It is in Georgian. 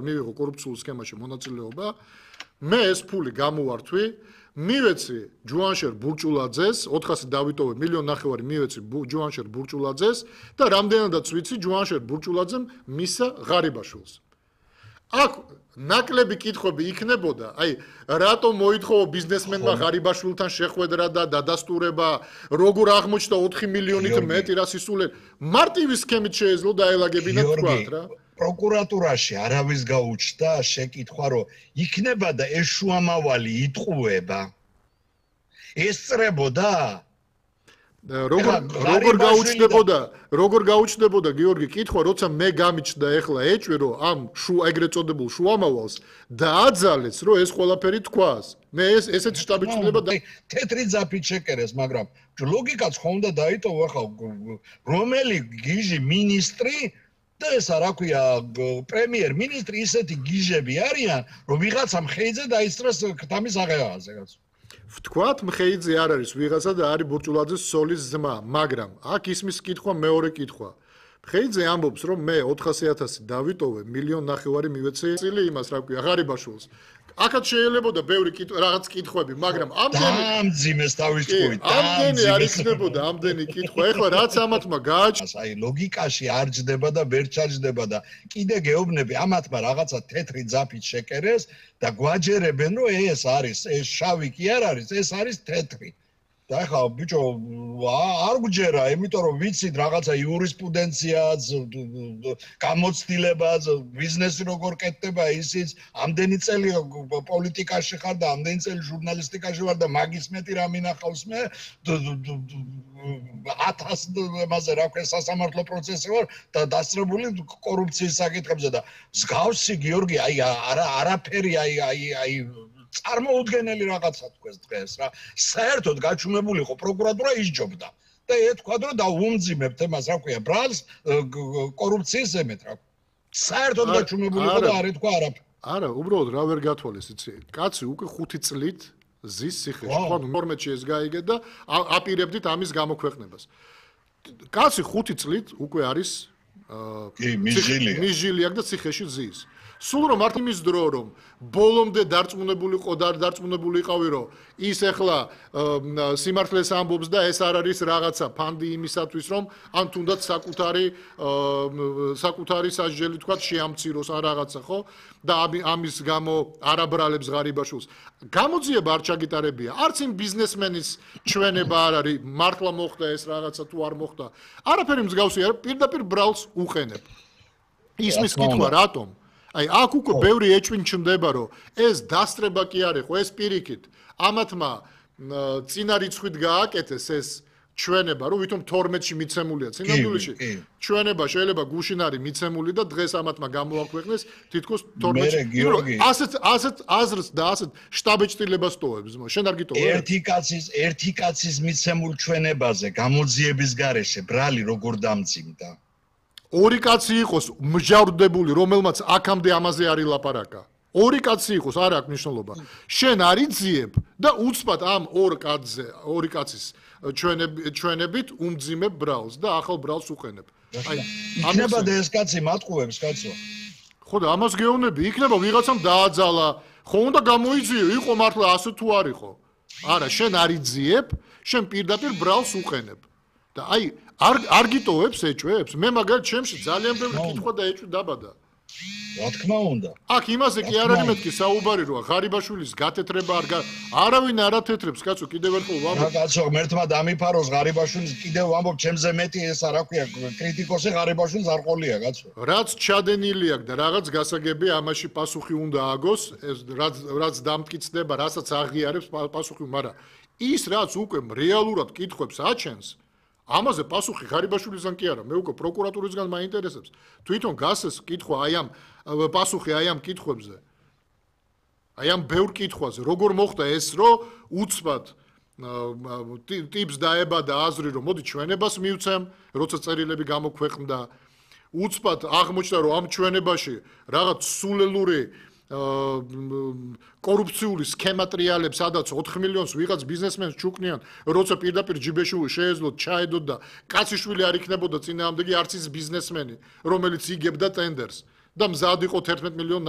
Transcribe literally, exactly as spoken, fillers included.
მივიღო კორუფციულ სქემაში მონაწილეობა, მე ეს ფული გამოვართვი, მივეცი ჯუანშერ ბურჭულაძეს, ოთხასი დავიტოვე, მილიონი ნახევარი მივეცი ჯუანშერ ბურჭულაძეს და რამდენადაც ვიცი ჯუანშერ ბურჭულაძემ მისცა ღარიბაშვილს. აქ ნაკლები კითხვები იქნებოდა, აი, რატომ მოითხოვა ბიზნესმენმა ღარიბაშვილთან შეხვედრა და დადასტურება, როგორ აღმოჩნდა ოთხი მილიონით მეტი რა სისულელი. მარტივი სქემით შეეძლო დაელაგებინა თქვათ რა. პროკურატურაში არავის გაუჩნდა შეკითხვა, რომ იქნება და ეს შუამავალი იტყუება. ესწრებოდა როგორ როგორ გაუჩნდებოდა, როგორ გაუჩნდებოდა გიორგი კითხვა, როცა მე გამიჩნდა ეხლა ეჭვი, რომ ამ შუ ეგრეთ წოდებულ შუამავალს დააძალეს, რომ ეს ყველაფერი თქვას. მე ეს ესეც შტაბი ჩნდება და თეთრი ძაფით შეკერეს, მაგრამ ლოგიკაც ხო უნდა დაიტოვო ახლა რომელი გიჟი მინისტრი და ესა რა ქვია პრემიერ-მინისტრი ისეთი გიჟები არიან, რომ ვიღაცა მხეიძე დაისწრეს ქთამის აღებაზე, კაცო. ვთქვათ, მხეიძე არ არის ვიღაცა და არის ბურჭულაძის სოლის ძმა, მაგრამ აქ ისმის კითხვა მეორე კითხვა. მხეიძე ამბობს, რომ მე ოთხასი ათასი დავიტოვე, მილიონი ნახევარი მივეცე წილი იმას, რა ქვია, ღარიბაშვილს. აქაც შეიძლებოდა ბევრი რაღაც კითხვები, მაგრამ ამდენი დამძიმეს თავის ტყუით. ამდენი არ იქნებოდა ამდენი კითხვა. ეხლა რაც ამათმა გააჩნია, აი ლოგიკაში არ ჯდება და ვერ ჩაჯდება და კიდე გეუბნები ამათმა რაღაცა თეთრი ძაფით შეკერეს და გვაჯერებენ, რომ ეს არის, ეს შავი კი არ არის, ეს არის თეთრი. და ახლა ბიჭო არ გვჯერა, იმიტომ რომ ვიცით რაღაცა იურისპრუდენციაც, გამოცდილებაც, ბიზნესი როგორ კეთდება ისიც, ამდენი წელი პოლიტიკაში ხარ და ამდენი წელი ჟურნალისტიკაში ვარ და მაგის მეტი რა მინახავს მე ათას მასე რა ქვია სასამართლო პროცესი ვარ და დასწრებული კორუფციის საკითხებზე და მსგავსი გიორგი აი არა არაფერი აი აი აი წარმოუდგენელი რაღაცა თქვეს დღეს რა საერთოდ გაჩუმებული იყო პროკურატურა ისჯობდა და ეთქვა რომ დაუმძიმებთ εμას რა ქვია ბრალს კორუფციის ზემეთ რა საერთოდ გაჩუმებული იყო და არ ეთქვა არაფერი არა უბრალოდ რა ვერ გათვალეს იცი კაცი უკვე ხუთი წლით ზის ციხეში ხო ნორმეთში ეს გაიგე და აპირებდით ამის გამოქვეყნებას კაცი ხუთი წლით უკვე არის კი მიჟილია მიჟილია და ციხეში ზის სულ რომ მარტო იმის დრო რომ ბოლომდე დარწმუნებული ყო და დარწმუნებული იყავი რომ ის ახლა სიმართლეს ამბობს და ეს არ არის რაღაცა ფანდი იმისათვის რომ ან თუნდაც საკუთარი საკუთარი სასჯელი თქვა შეამციროს ან რაღაცა ხო და ამის გამო არაბრალებს ღარიბაშვილს გამოძიება არ ჩაგიტარებია არც იმ ბიზნესმენის ჩვენება არ არის მართლა მოხდა ეს რაღაცა თუ არ მოხდა არაფერი მსგავსი არ პირდაპირ ბრალს უყენებ ისმის კითხვა რატომ აი აქ უკვე ბევრი ეჭვი ჩნდება რომ ეს დასწრება კი არის ხო ეს პირიქით ამათმა წინა რიცხვით გააკეთეს ეს ჩვენება რომ ვითომ თორმეტში მიცემულია წინამდვილში ჩვენება შეიძლება გუშინ არის მიცემული და დღეს ამათმა გამოაქვეყნეს თითქოს თორმეტში ასეთ ასეთ აზრს და ასეთ შტაბეჭდილებას ტოვებს შენ არ გიტოვებ ერთი კაცის ერთი კაცის მიცემულ ჩვენებაზე გამოძიების გარეშე ბრალი როგორ დამძიმდა ორი კაცი იყოს მჟავრდებული, რომელმაც აქამდე ამაზე არ ილაპარაკა. ორი კაცი იყოს, არ აქვს მნიშვნელობა. შენ არ იძიებ და უცბად ამ ორ კაცზე, ორი კაცის ჩვენებით უმძიმებ ბრალს და ახალ ბრალს უყენებ. აი, იქნება და ეს კაცი მატყუებს, კაცო. ხო და ამას გეუბნები, იქნება ვიღაცამ დააძალა, ხო უნდა გამოიძიო, იყო მართლა ასე თუ არ იყო. არა, შენ არ იძიებ, შენ პირდაპირ ბრალს უყენებ. და აი არ არ გიტოვებს ეჭვებს? მე მაგალითად ჩემში ძალიან ბევრი კითხვა და ეჭვი დაბადა. რა თქმა უნდა. აქ იმაზე კი არ არის მეთქი საუბარი როა ღარიბაშვილის გათეთრება არ არავინ არ ათეთრებს კაცო კიდევ ერთხელ ვამბობ. რა კაცო ღმერთმა დამიფაროს ღარიბაშვილის კიდევ ვამბობ ჩემზე მეტი ესა რა ქვია კრიტიკოსი ღარიბაშვილს არ ყოლია კაცო. რაც ჩადენილი აქვს და რაღაც გასაგები ამაში პასუხი უნდა აგოს ეს რაც რაც დამტკიცდება რასაც აღიარებს პასუხი მაგრამ ის რაც უკვე რეალურად კითხვებს აჩენს ამაზე პასუხი ღარიბაშვილისგან კი არა, მე უკვე პროკურატურისგან მაინტერესებს. თვითონ გასეს კითხვა აი ამ პასუხი აი ამ კითხვებზე. აი ამ ბევრ კითხვაზე, როგორ მოხდა ეს, რომ უცბად ტიპს დაებადა აზრი, რომ მოდი ჩვენებას მივცემ, როცა წერილები გამოქვეყნდა. უცბად აღმოჩნდა, რომ ამ ჩვენებაში რაღაც სულელური კორუფციული სქემატრიალებს სადაც ოთხ მილიონს ვიღაც ბიზნესმენს ჩუკნიან, როცა პირდაპირ ჯიბეში შეეძლოთ, ჩაედოთ და კაციშვილი არ იქნებოდა წინააღმდეგი არც ის ბიზნესმენი, რომელიც იგებდა ტენდერს და მზად იყო თერთმეტ მილიონ